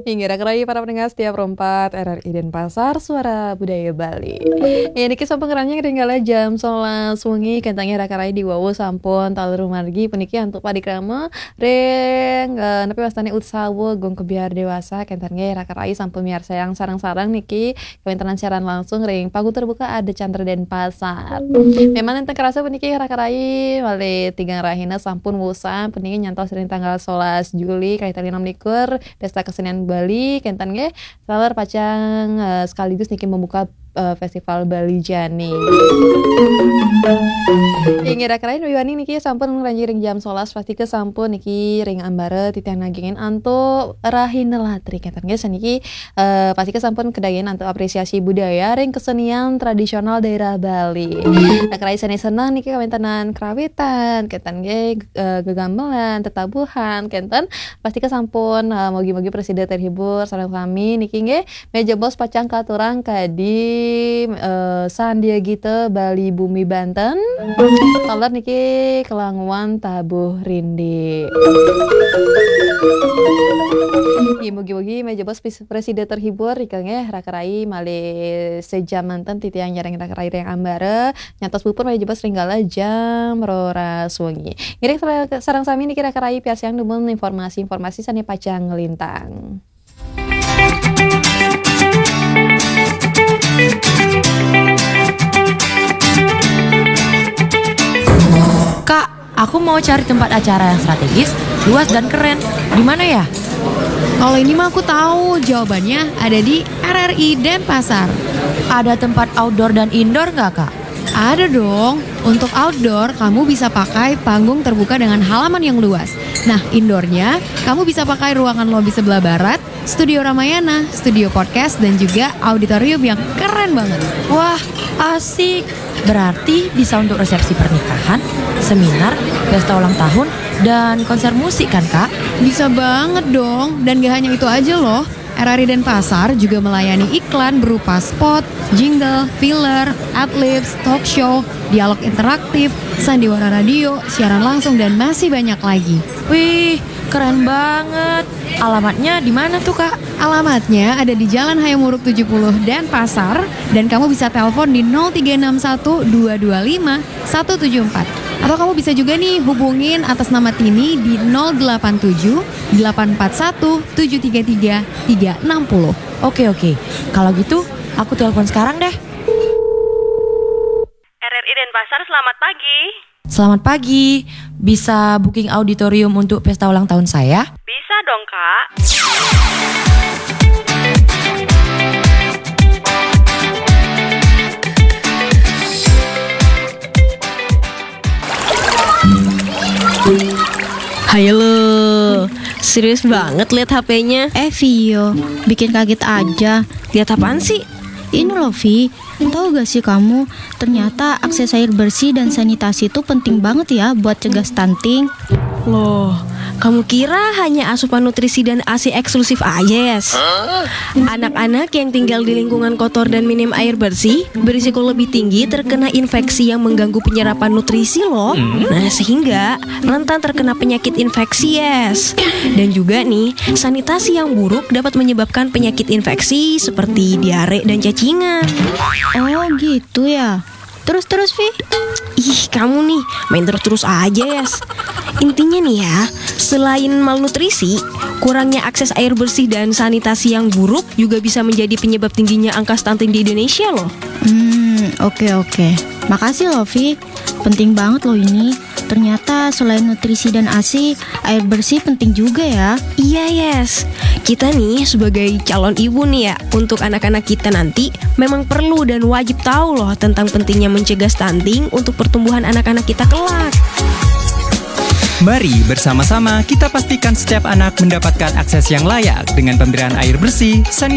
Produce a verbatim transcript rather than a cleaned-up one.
Inggih, raka rayi para pendengar setia Pro empat R R I Denpasar, Suara Budaya Bali. Ya, niki sampun ngranyah ring galah jam sebelas wengi, kenten nggih raka rayi diwawu sampun taler dumargi puniki antuk parikrama ring, eh, napi wastane Utsawa Gong Kebyar Dewasa, kenten nggih raka rayi sampun miarsayang sareng-sareng niki kawéntenan siaran langsung ring Panggung Terbuka Ardha Candra Denpasar. Memang nenten kerasa puniki raka rayi malih tigang rahina sampun wusan puniki nyantos ring tanggal sebelas Juli kalih tali enam likur, Pesta Kesenian Bali kenten nggih taler pacang, eh, sekaligus niki membuka, eh, Festival Bali Jani. Inggih raka rayi wiwani niki sampun ngranjing ring jam sebelas, pastika sampun niki ring ambara titiang nagingin antuk rahina latri kenten nggih saniki eh, pastika sampun kedayan antuk apresiasi budaya ring kesenian tradisional daerah Bali. Raka rayi sane seneng niki kawéntenan kerawitan, kenten nggih, eh, gegamelan, tetabuhan, kenten. Pastika sampun, eh, mugi-mugi prasida terhibur sareng sami niki nggih. Meja bos pacang katurang kadi, eh, Sandia Gita Bali Bumi Banten. Taler niki kelanguan tabuh rindik. Nggih, mugi-mugi meja bos pis- prasida terhibur, rika nggih, raka rayi malih sejam manten titiang nyarengin raka rayi ring ambara, nyantos puput malih jebos ring galah jam roras wengi. Ngiring sare-, sareng sami niki raka rayi piarsayang dumun informasi-informasi sane pacang nglintang. Kak, aku mau cari tempat acara yang strategis, luas dan keren. Di mana ya? Kalau ini mah aku tahu, jawabannya ada di R R I Denpasar. Ada tempat outdoor dan indoor nggak, Kak? Ada dong. Untuk outdoor, kamu bisa pakai panggung terbuka dengan halaman yang luas. Nah, indoornya, kamu bisa pakai ruangan lobi sebelah barat, studio Ramayana, studio podcast, dan juga auditorium yang keren banget. Wah, asik. Berarti bisa untuk resepsi pernikahan, seminar, pesta ulang tahun, dan konser musik kan, Kak? Bisa banget dong. Dan gak hanya itu aja loh. R R I Denpasar juga melayani iklan berupa spot, jingle, filler, adlibs, talk show, dialog interaktif, sandiwara radio, siaran langsung, dan masih banyak lagi. Wih, keren banget. Alamatnya di mana tuh, Kak? Alamatnya ada di Jalan Hayam Wuruk tujuh puluh Denpasar, dan kamu bisa telepon di nol tiga enam satu dua dua lima satu tujuh empat. Atau kamu bisa juga nih hubungin atas nama Tini di nol delapan tujuh delapan empat satu tujuh tiga tiga tiga enam puluh. Oke, oke. Kalau gitu, aku telepon sekarang deh. R R I Denpasar, selamat pagi. Selamat pagi. Bisa booking auditorium untuk pesta ulang tahun saya? Bisa dong, Kak. Hai lo, serius banget lihat H P-nya. Eh, Vio, bikin kaget aja. Lihat apaan sih? Ini loh, Vi. Tahu gak sih kamu, ternyata akses air bersih dan sanitasi itu penting banget ya buat cegah stunting. Loh, kamu kira hanya asupan nutrisi dan A S I eksklusif aja, Yes? Anak-anak yang tinggal di lingkungan kotor dan minim air bersih berisiko lebih tinggi terkena infeksi yang mengganggu penyerapan nutrisi loh. Nah, sehingga rentan terkena penyakit infeksi, Yes. Dan juga nih, sanitasi yang buruk dapat menyebabkan penyakit infeksi seperti diare dan cacingan. Oh, gitu ya. Terus-terus, Vi? Ih, kamu nih main terus-terus aja, Yes. Intinya nih ya, selain malnutrisi, kurangnya akses air bersih dan sanitasi yang buruk juga bisa menjadi penyebab tingginya angka stunting di Indonesia loh. Hmm, oke, oke. Makasih loh, Vi. Penting banget loh ini. Ternyata selain nutrisi dan A S I, air bersih penting juga ya. Iya, Yes. Kita nih sebagai calon ibu nih ya, untuk anak-anak kita nanti memang perlu dan wajib tahu loh tentang pentingnya mencegah stunting untuk pertumbuhan anak-anak kita kelak. Mari bersama-sama kita pastikan setiap anak mendapatkan akses yang layak dengan pemberian air bersih, sanitasi,